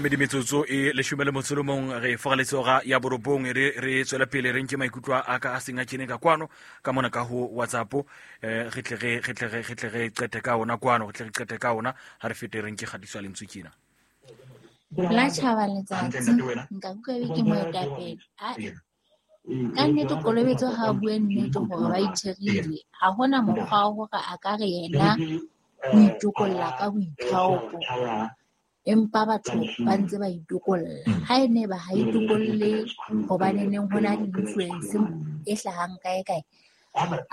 Medi metsotso e 11 re fogaletse ora ya 9 re tswela pele re nke maikutlo a ka a seng a kene ka kwano ka mona ka ho WhatsApp re tle re qete ka ona kwano re tle re qete ka ona ha re fete re nke kgatiso ya lentswe kena la tjhaba letsatsi nka utlwa ebe ke moetapele. Ka nnete Kolobetso ha a bue nnete hore ba itherile. Ha hona mokgwa wa hore a ka re yena o itokolla ka boithaopo, empa batho ba ntse ba itokolla. Ha e ne ba ha itokolle hobaneneng ho na le influence e hlahang kae kae,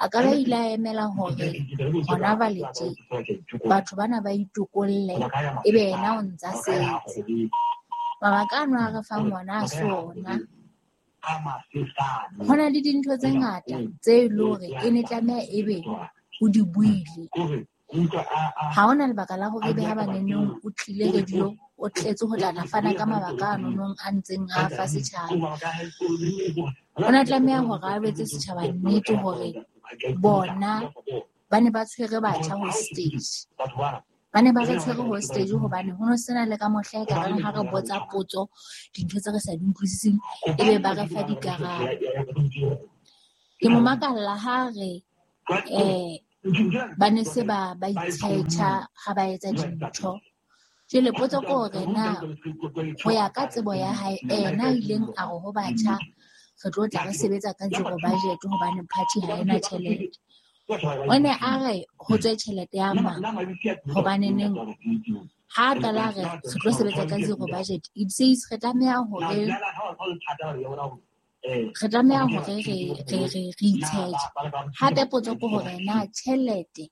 a ka ba ile a emela hore hona jwale tje batho bana ba itokolle ebe yena o ntsa setse. Mabaka ano a re fang ona a se ona. Ho na le dintho tse ngata tse e leng hore e ne tlameha ebe o di buile. Ha hona lebaka la hore ebe ha baneneng o tlile radio o tletse ho tla fana ka mabaka a nonong a ntseng a fa setjhaba. O na tlameha hore a jwetse setjhaba nnete hore bona ba ne ba tshwere batjha hostage. Ba ne ba re tshwere hostage hobane ho no sena le ka mohla e ka reng ha re botsa potso dintho tse re sa di utlwisiseng ebe ba re fa dikarabo. Ke mo makalla ha re ba ne se ba itshetjha ha ba etsa dintho. Jwale potso ke hore na ho ya ka tsebo ya hae ena a ileng a re ho batjha re tlo tla re sebetsa ka zero budget hobane party ha ena tjhelete. O ne a re ho tswe tjhelete ya mang hobaneneng ha a qala re re tlo sebetsa ka zero budget, it says re tlameha hore re itsheje. Hape potso ke hore na tjhelete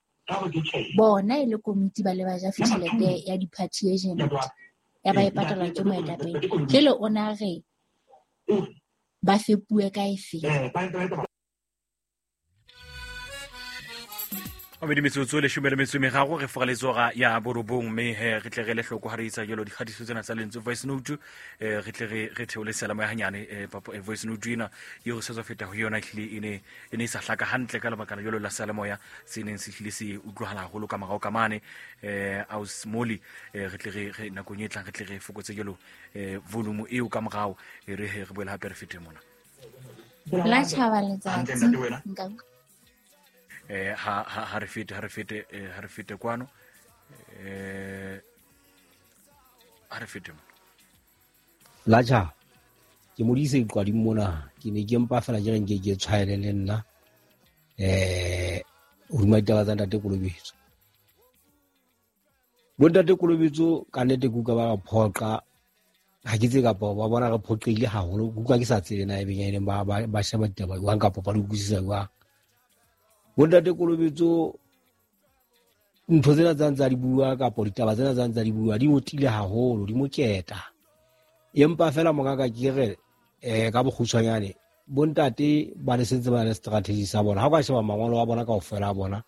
bona e le komiti ba le ba ja tjhelete ya di-party agent ya ba e patalwa ke moetapele. Jwale o na re ba fepuwe ka efe? Medi metsotso 13 re fogaletse ora ya 9 mme re tle re le hloko ha re etsa jalo dikgatiso tsena tsa lentswe voice note re tle re theole selamo ya hanyane voice note ena eo re sa tswa feta ho yona ehlile e ne e sa hlaka hantle ka lebaka la jalo la seyalemoya se neng se hlile se utlwahala haholo ka morao ka mane aus moli re tle re nakong e tlang re tle re fokotse jalo volume eo ka morao re boele hape re fete mona la tjhaba letsatsi nka ha re fete kwano ha re fete mona la tjha ke modise iqwading mona ke ne ke mpa fela ke re nke ke tshwaele le nna hodima ditaba tsa ntate Kolobetso. Bo ntate Kolobetso ka nnete ke utlwa ba re phoqa ha ke tse kapa ba bona re phoqile haholo ke utlwa ke sa tsebe na ebeng e leng ba sheba ditaba jwang kapa ba di utlwisisa jwang. Bontate Kolobetso ntho tsena tsa ntsa di bua kapa ditaba tsena tsa ntsa di bua di motile haholo di moketa. Empa fela mongaka ke re ka bokgutshwanyane bontate ba le sentse ba le strategy sa bona. Ha o ka sheba mangolo a bona kaofela a bona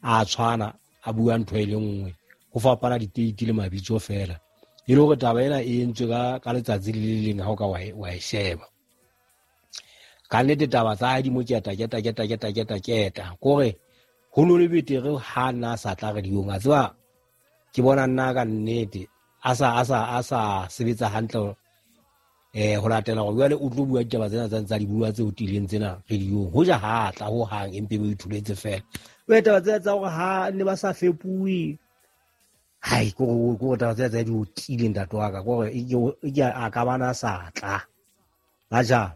a tshwana a bua ntho e le nngwe ho fapana diteiti le mabitso fela. E le hore taba ena e entswe ka letsatsi le le leng ha o ka wa e sheba. Ka nnete taba tsa hae di mo keta kore ho no le betere ha nna a sa tla radiong a tseba ke bona nna ka nnete a sa sebetsa hantle ho latela hore jwale o tlo bua ditaba tsena tsa ntsa di bua tse o tileng tsena radiong ho ja ha tla ho hang empe ba ithuletse fela. Jwale taba tsena tsa hore ha ne ba sa fepuwe hai ko taba tsena tsa di o tileng ntate wa ka kore ke a ka bana sa tla la ja.